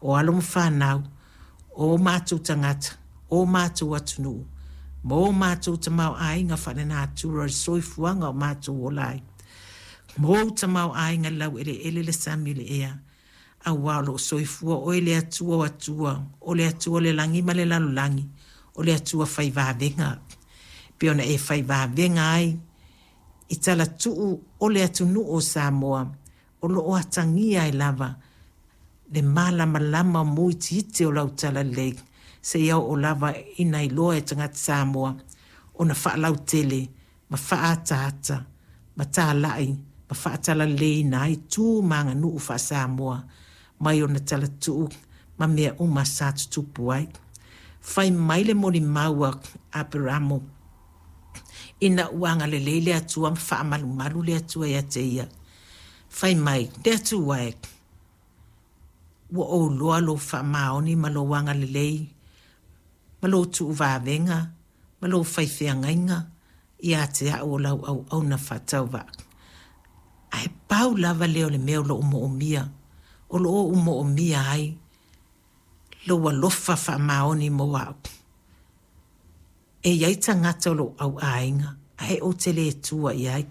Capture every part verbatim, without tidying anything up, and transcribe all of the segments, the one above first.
O alo ma fanau, o mātou tagata, o mātou atunuu, ma o mātou tamaoaiga faalenatura o le soifuaga o mātou ola ai. Ma ou tamaoaiga i le laueleele, le sami, le ea, auā o loo soifua oe le Atua o Atua, o le Atua o le lagi ma le lalolagi, o le Atua fai vavega. Pe ona e fai vavega ai i talatuu o le atunuu o Samoa, o loo atagia ai lava le malamalama mo itiiti o lau talalelei, seia oo lava ina iloa e tagata Samoa ona faalautele ma faaataata ma talai ma faatalaleiina ai tu ma aganuu faa-Samoa mai ona talatuu ma mea uma sa tutupu ai. Fai mai le molimau a Aperamo ina ua agalelei le Atua ma faamalumalu le Atua ia te ia. Fai mai, le Atua e, ua ou iloa lou faamaoni ma lou agalelei ma lou tuuvavega ma lou faifeagaiga ia te au o lau auauna faatauvaa. Ae pau lava lea o le mea o loo moomia, o loo ou moomia ai lou alofa faamaoni mo au. E iai tagata o lou auaiga, ae ou te le tua i ai.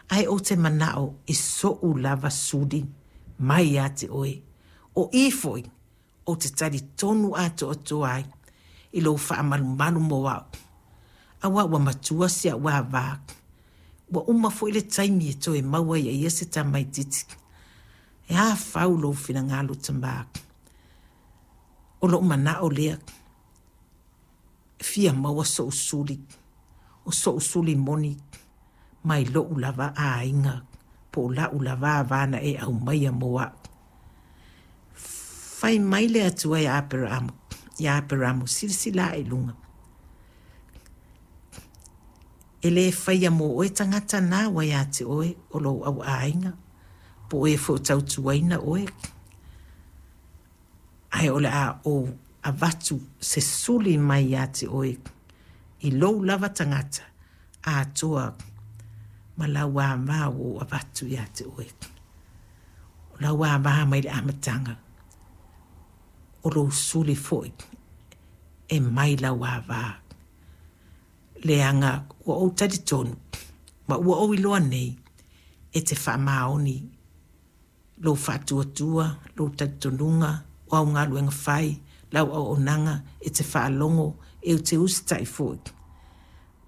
Ae ou te manao i so'u lava suli mai ia te oe. O i foi, ou te talitonu atoatoa ai i lou faamalumalu mo au. Auā ua matua si a'u avā. Ua uma foi le taimi e toe maua ai e ia se tamaitiiti. E a fau lou finagalo tamā. O lou manao lea, e fia maua so'u suli, o so'u suli moni mai lou lava aiga, po o la'u lava avā na e aumaia mo a'u. Fai mai le Atua ia Aperamo, ia Aperamo, silasila ae i luga. E lē faia mo oe tagata na ua ia te oe o lou auaiga, po o e foi o tautuaina oe. Ae o le a ou avatu se suli mai ia te oe i lou lava tagata atoa ma lau avā ua ou avatu ia te oe. O lau avā mai le amataga, o lou suli foi e mai lau avā. Leaga ua ou talitonu ma ua ou iloa nei e te faamaoni lou faatuatua, lou talitonuga, o au galuega fai, lau auaunaga e te faalogo, e te usitai foi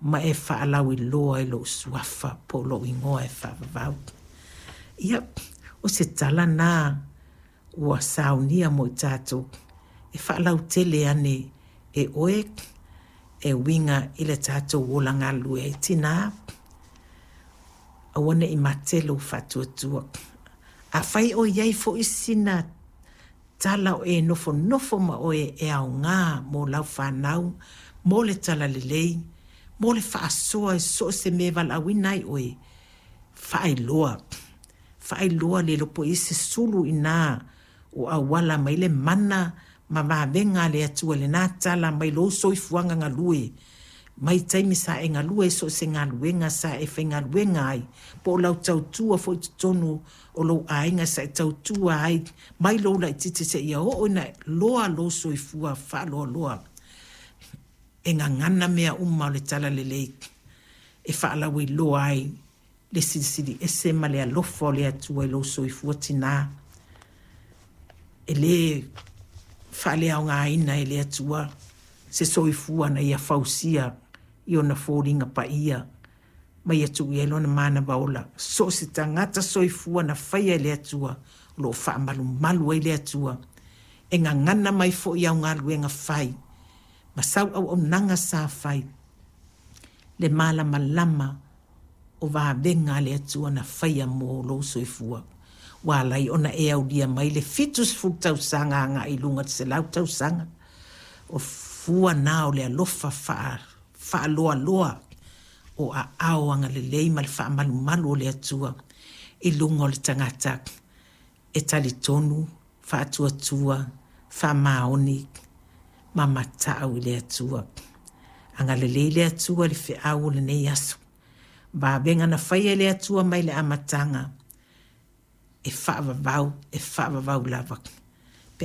ma e faalauiloa i lou suafa po o lou igoa e faavavau. Ia, o se tala na ua saunia mo i tatou e faalautele ane e oe e uiga i le tatou ola galulue ai. Tinā, aua ne i mate lou faatuatua. Afai o i ai foi sina tala o e nofonofo ma oe e aogā mo lau fanau, mo le talalelei, mo le faasoa i so o se mea e valaauina ai oe, faailoa. Faailoa le iloa po o i ai se sulu inā o auala mai le mana ma vavega a le Atua i lena tala mai lou soifuaga galue, mai taimi sa e galue ai so o se galuega sa e faigaluega ai, po o lau tautua foi i totonu o lou aiga sa e tautua ai mai lou laitiiti seia oo ina loa lou soifua faaloaloa. E gagana mea uma o le talalelei e faalauiloa ai le silisili ese ma le alofa o le Atua i lou soifua tinā. E lē faaleaogaina e le Atua se soifua na ia fausia i ona foliga paia ma ia tuu i ai lona manava ola. So o se tagata soifua na faia e le Atua, o loo faamalumalu ai le Atua. E gagana mai foi au galuega fai ma sau auaunaga sa fai le malamalama o vavega a le Atua na faia mo lou soifua. Ua ala ai ona e aulia mai le fitusefulu tausaga agai i luga i le selau tausaga. O fua na o le alofa faa faaloaloa o aao agalelei ma le faamalumalu o le Atua i luga o le tagata e talitonu, faatuatua, faamaoni ma matau i le Atua. Agalelei le Atua i le feau o lenei aso. Vavega na faia e le Atua mai le amataga e faavavau, e faavavau lava.